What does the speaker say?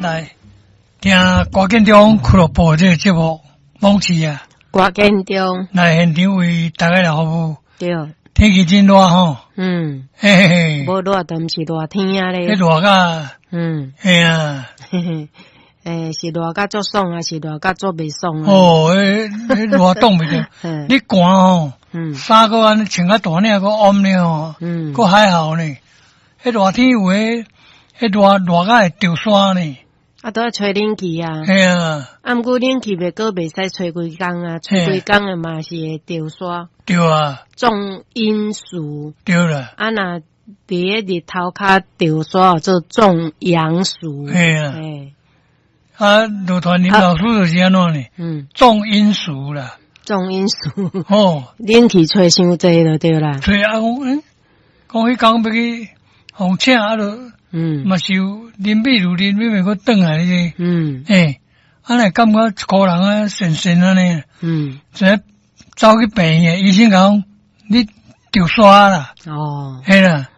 來聽歌建中俱樂部這个節目，罔市啊，歌建中來現場為大家來服務。對。天氣真熱吼。嘿嘿嘿。無熱就毋是熱天啊咧。彼熱甲，嘿啊。嘿嘿，欸，是熱甲足爽啊，是熱甲足袂爽啊？哦，彼熱擋袂著。你寒吼，衫閣按呢穿較大領，閣翕咧吼，閣還好呢。彼熱天有的，彼熱熱甲會著沙呢。啊，都愛吹冷氣啊。嘿啊。啊，毋過冷氣袂閣袂使吹規工啊，吹規工的嘛是會著沙。對啊。壯陰暑。對啦。啊，若佇咧日頭跤著沙，做壯陽暑。嘿啊。啊，羅傳林老師就是按怎呢？壯陰暑啦。壯陰暑。哦。冷氣吹傷濟就對啦。吹啊，講講彼工欲去予請啊，就嘛是有啉秘魯啉秘袂閣轉來呢。欸，啊，若感覺一箍人啊，神神按呢。這走去病院，醫生講你著沙啦。嘿啦。